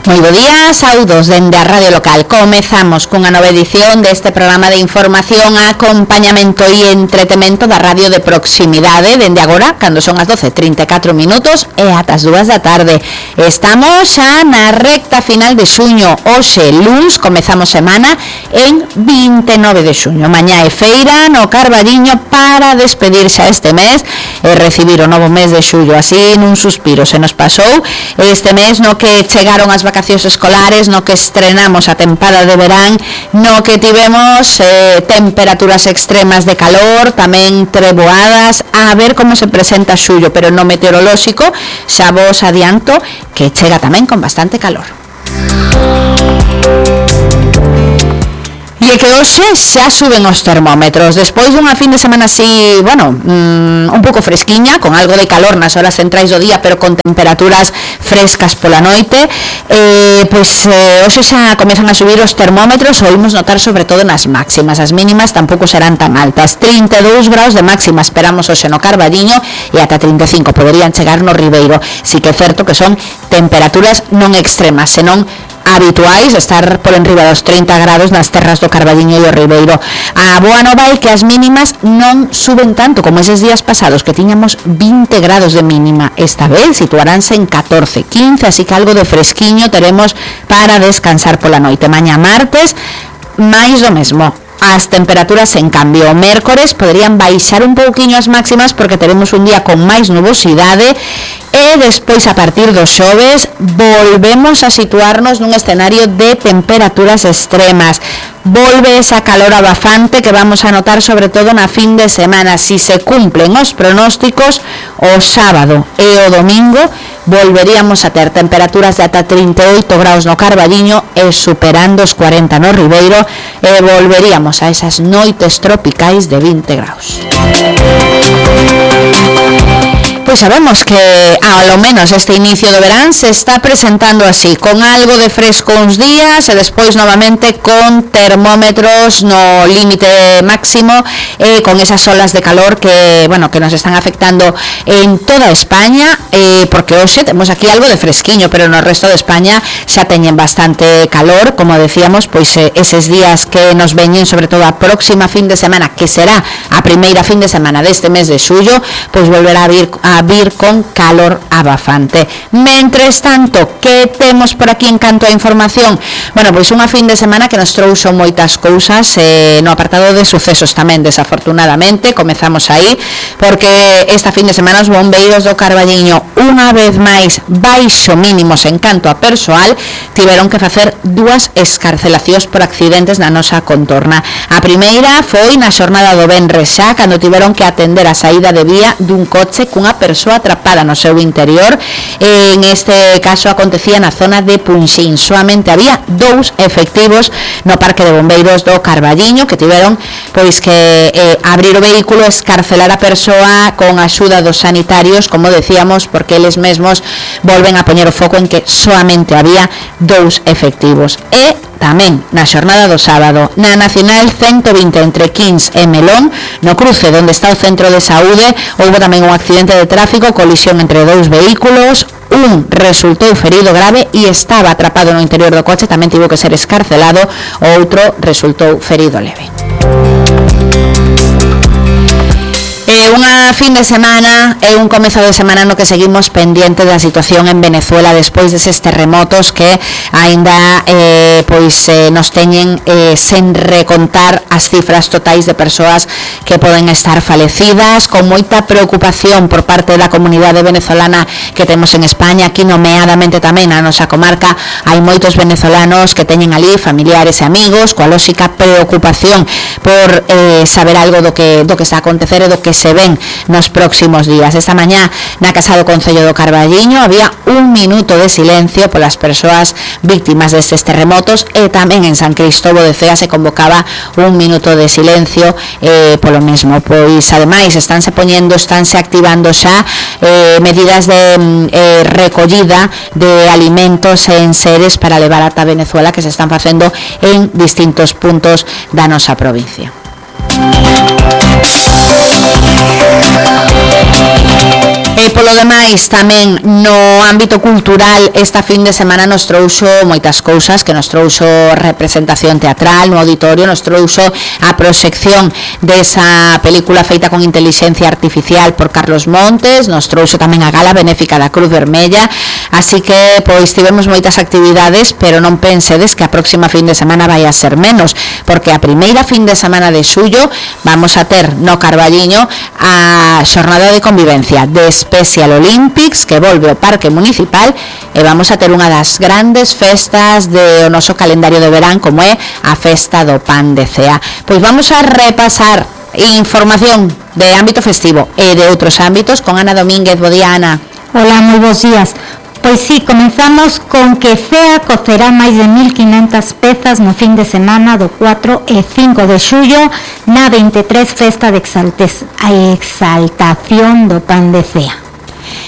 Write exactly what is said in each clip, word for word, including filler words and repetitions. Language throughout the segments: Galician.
Moi bo día, saudos dende a Radio Local. Comezamos cunha nova edición deste programa de información, acompañamento e entretemento da radio de proximidade dende agora, cando son as doce e trinta e catro minutos e ata as dúas da tarde. Estamos xa na recta final de xuño. Hoxe, luns, comezamos semana en vinte e nove de xuño. Mañá é feira no Carballiño para despedirse a este mes e recibir o novo mes de xullo. Así, nun suspiro, se nos pasou este mes no que chegaron as vacacións escolares, no que estrenamos a tempada de verán, no que tivemos eh, temperaturas extremas de calor, tamén treboadas. A ver como se presenta xullo, pero no meteorolóxico xa vos adianto que chega tamén con bastante calor. E que hoxe xa suben os termómetros despois dunha fin de semana así, bueno, mmm, un pouco fresquiña, con algo de calor nas horas centrais do día, pero con temperaturas frescas pola noite. Eh, pois eh, hoxe xa comezan a subir os termómetros, o imos notar sobre todo nas máximas. As mínimas tampouco serán tan altas. trinta e dous graus de máxima esperamos hoxe no Carballiño e ata trinta e cinco poderían chegar no Ribeiro. Si que é certo que son temperaturas non extremas, senón habituais, estar por enriba dos trinta grados nas terras do Carballiño e o Ribeiro. A boa nova é que as mínimas non suben tanto como eses días pasados, que tiñamos vinte grados de mínima. Esta vez situaránse en catorce, quince, así que algo de fresquiño teremos para descansar pola noite. Mañá martes, máis do mesmo. As temperaturas, en cambio, o mércores poderían baixar un pouquiño as máximas porque teremos un día con máis nubosidade e despois, a partir do xoves, volvemos a situarnos nun escenario de temperaturas extremas. Volve esa calor abafante que vamos a notar sobre todo na fin de semana. Si se cumplen os pronósticos, o sábado e o domingo volveríamos a ter temperaturas de ata trinta e oito graus no Carballiño e superando os cuarenta no Ribeiro, e volveríamos a esas noites tropicais de vinte graus. Pois sabemos que ao menos este inicio do verán se está presentando así, con algo de fresco uns días e despois novamente con termómetros no límite máximo e con esas olas de calor que, bueno, que nos están afectando en toda España, eh, porque hoxe temos aquí algo de fresquiño, pero no resto de España xa teñen bastante calor, como decíamos, pois eh, eses días que nos veñen, sobre todo a próxima fin de semana, que será a primeira fin de semana deste mes de xullo, pois volverá a vir a vir con calor abafante. Mentres tanto, que temos por aquí en canto a información? Bueno, pois unha fin de semana que nos trouxo moitas cousas eh, no apartado de sucesos tamén, desafortunadamente. Comezamos aí, porque esta fin de semana os bombeiros do Carballiño, unha vez máis baixo mínimos en canto a persoal, tiveron que facer dúas escarcelacións por accidentes na nosa contorna. A primeira foi na xornada do venres xa, cando tiveron que atender a saída de vía dun coche cunha persoa atrapada no seu interior. En este caso acontecía na zona de Punxín. Soamente había dous efectivos no parque de bombeiros do Carballiño que tiveron pois que eh, abrir o vehículo, escarcelar a persoa con axuda dos sanitarios, como decíamos, porque eles mesmos volven a poñer o foco en que soamente había dous efectivos. E tamén na xornada do sábado, na Nacional ciento vinte entre Quins e Melón, no cruce onde está o centro de saúde, houve tamén un accidente de tráfico, colisión entre dous vehículos. Un resultou ferido grave e estaba atrapado no interior do coche, tamén tivo que ser escarcelado. O outro resultou ferido leve. É unha fin de semana e un comezo de semana no que seguimos pendiente da situación en Venezuela despois deses terremotos que aínda eh, pois eh, nos teñen eh, sen recontar as cifras totais de persoas que poden estar falecidas, con moita preocupación por parte da comunidade venezolana que temos en España. Aquí nomeadamente tamén na nosa comarca hai moitos venezolanos que teñen ali familiares e amigos, coa lóxica preocupación por eh, saber algo do que, do que está a acontecer e do que se ven nos próximos días. Esta mañá na Casa do Concello do Carballiño había un minuto de silencio polas persoas víctimas destes terremotos e tamén en San Cristóbal de Cea se convocaba un minuto de silencio eh, polo mesmo. Pois ademais estánse poñendo, estánse activando xa eh, medidas de eh, recollida de alimentos en seres para levar ata Venezuela que se están facendo en distintos puntos da nosa provincia. E polo demais, tamén no ámbito cultural, esta fin de semana nos trouxo moitas cousas, que nos trouxo representación teatral no auditorio, nos trouxo a proxección desa película feita con inteligencia artificial por Carlos Montes, nos trouxo tamén a gala benéfica da Cruz Vermella, así que pois tivemos moitas actividades, pero non pensedes que a próxima fin de semana vai a ser menos, porque a primeira fin de semana de xullo vamos a ter no Carballiño a xornada de convivencia de Special Olympics, que volve ao Parque Municipal, e vamos a ter unha das grandes festas do noso calendario de verán, como é a Festa do Pan de Cea. Pois vamos a repasar información de ámbito festivo e de outros ámbitos con Ana Domínguez. Bo día, Ana. Hola, moi bons días. Pois sí, comenzamos con que Cea cocerá máis de mil quinhentas pezas no fin de semana do cuatro e cinco de xullo na vinte e tres Festa de Exaltes, a exaltación do Pan de Cea.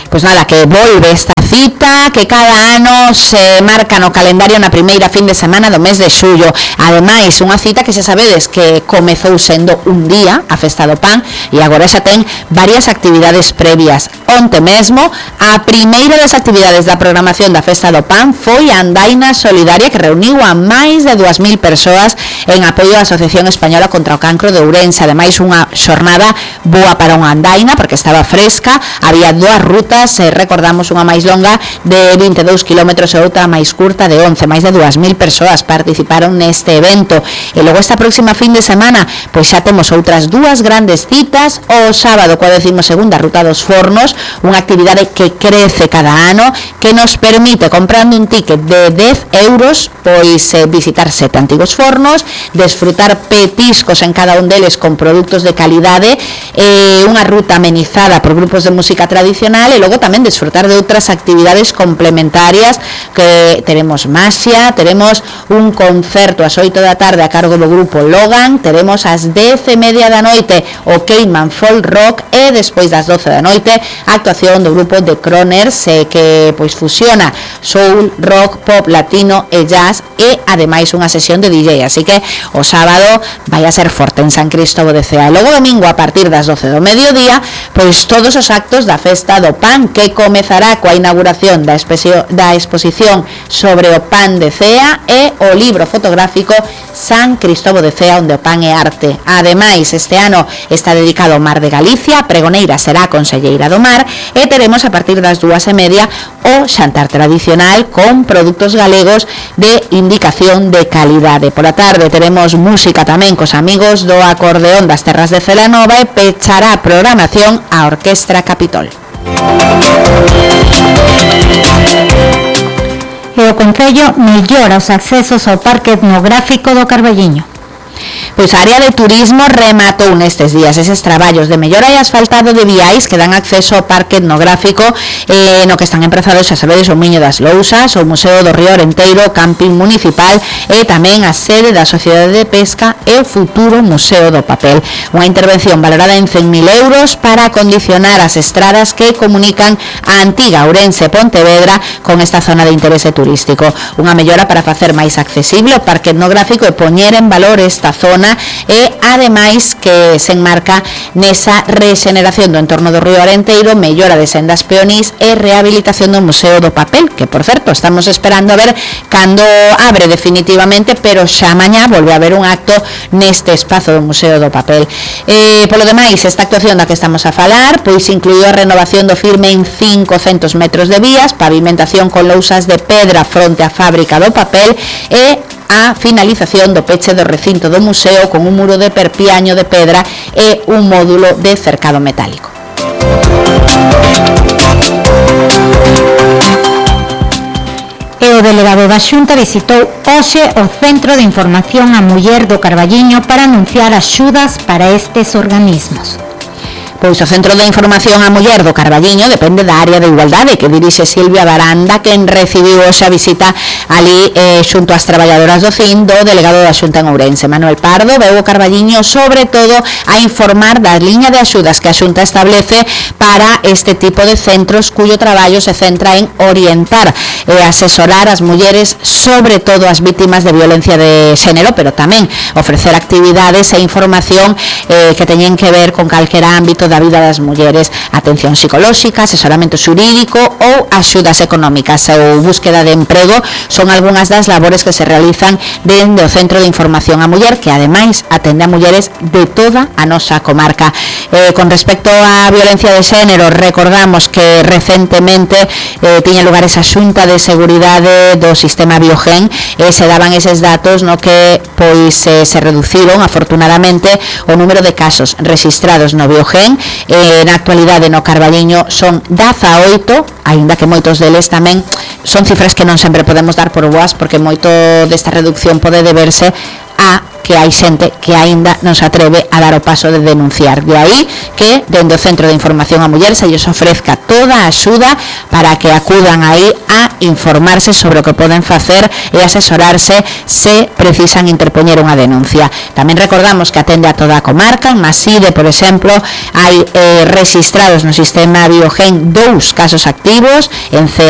Pois nada, que volve esta cita que cada ano se marca no calendario na primeira fin de semana do mes de xullo. Ademais, unha cita que xa sabedes que comezou sendo un día, a Festa do Pan, e agora xa ten varias actividades previas. Onte mesmo, a primeira das actividades da programación da Festa do Pan foi a andaina solidaria que reuniu a máis de dúas mil persoas en apoio á Asociación Española contra o Cancro de Ourense. Ademais, unha xornada boa para unha andaina, porque estaba fresca, había dúas rutas, eh, recordamos unha máis longa de vinte e dous kilómetros e outra máis curta de once, máis de dúas mil persoas participaron neste evento. E logo esta próxima fin de semana, pois xa temos outras dúas grandes citas. O sábado, coa decimo segunda Ruta dos Fornos, unha actividade que crece cada ano, que nos permite, comprando un ticket de dez euros, pois eh, visitar sete antigos fornos, desfrutar petiscos en cada un deles con produtos de calidade, eh, unha ruta amenizada por grupos de música tradicional, e logo tamén desfrutar de outras actividades complementarias, que teremos maxia, teremos un concerto ás oito da tarde a cargo do grupo Logan, teremos ás dez e media da noite o Cayman Folk Rock, e despois das doce da noite a actuación do grupo The Croners, eh, que pois fusiona soul, rock, pop, latino e jazz, e ademais unha sesión de D J, así que o sábado vai a ser forte en San Cristóbal de Cea. E logo domingo, a partir das doce do mediodía, pois todos os actos da Festa do Pan, que comezará coa inauguración da, especio, da exposición sobre o pan de Cea e o libro fotográfico San Cristóbal de Cea, onde o pan é arte. Ademais, este ano está dedicado ao Mar de Galicia, a pregoneira será a conselleira do Mar, e teremos a partir das dúas e media o xantar tradicional con produtos galegos de indicación de calidade. Por a tarde teremos música tamén cos amigos do acordeón das Terras de Celanova, e pechará a programación a Orquestra Capitol. E o Concello mellora os accesos ao Parque Etnográfico do Carballiño. Pois a área de turismo rematou nestes días eses traballos de mellora e asfaltado de viais que dan acceso ao parque etnográfico, eh, no que están emprezados, xa sabedes, o Miño das Lousas, o Museo do Río Orenteiro, o Camping Municipal, e tamén a sede da Sociedade de Pesca e o futuro Museo do Papel. Unha intervención valorada en cen mil euros para acondicionar as estradas que comunican a antiga Ourense e Pontevedra con esta zona de interese turístico. Unha mellora para facer máis accesible o parque etnográfico e poñer en valor esta zona, e ademais que se enmarca nesa rexeneración do entorno do Río Orenteiro, mellora de sendas peonís e rehabilitación do Museo do Papel, que por certo estamos esperando a ver cando abre definitivamente, pero xa mañá volve a haber un acto neste espazo do Museo do Papel. E polo demais, esta actuación da que estamos a falar pois incluiu a renovación do firme en cincocentos metros de vías, pavimentación con lousas de pedra fronte á fábrica do papel, e a finalización do peche do recinto do museo con un muro de perpiaño de pedra e un módulo de cercado metálico. E o delegado da Xunta visitou hoxe o Centro de Información á Muller do Carballiño para anunciar axudas para estes organismos. Pois o Centro de Información á Muller do Carballiño depende da área de igualdade que dirixe Silvia Baranda, quen recibiu hoxe a visita ali eh, xunto ás traballadoras do C I N do delegado da Xunta en Ourense. Manuel Pardo veu o Carballiño sobre todo a informar da liña de axudas que a Xunta establece para este tipo de centros cuyo traballo se centra en orientar e asesorar as mulleres, sobre todo as vítimas de violencia de xénero, pero tamén ofrecer actividades e información eh, que teñen que ver con calquera ámbito da da vida das mulleres, atención psicolóxica, asesoramento xurídico ou axudas económicas ou búsqueda de emprego son algunhas das labores que se realizan dende o Centro de Información á Muller, que ademais atende a mulleres de toda a nosa comarca. Eh, con respecto á violencia de xénero, recordamos que recentemente eh, tiña lugar esa xunta de seguridade do sistema Biogen e se daban eses datos no que pois eh, se reduciron afortunadamente o número de casos registrados no Biogen. Eh, na actualidade no Carballiño son dezaoito, aínda que moitos deles tamén son cifras que non sempre podemos dar por boas, porque moito desta reducción pode deberse a que hai xente que aínda non se atreve a dar o paso de denunciar. De aí que dende o Centro de Información á Muller se lles ofrezca toda a axuda para que acudan aí a informarse sobre o que poden facer e asesorarse se precisan interpoñer unha denuncia. Tamén recordamos que atende a toda a comarca. En Maside, por exemplo, hai eh, registrados no sistema Biogen dous casos activos, en Cea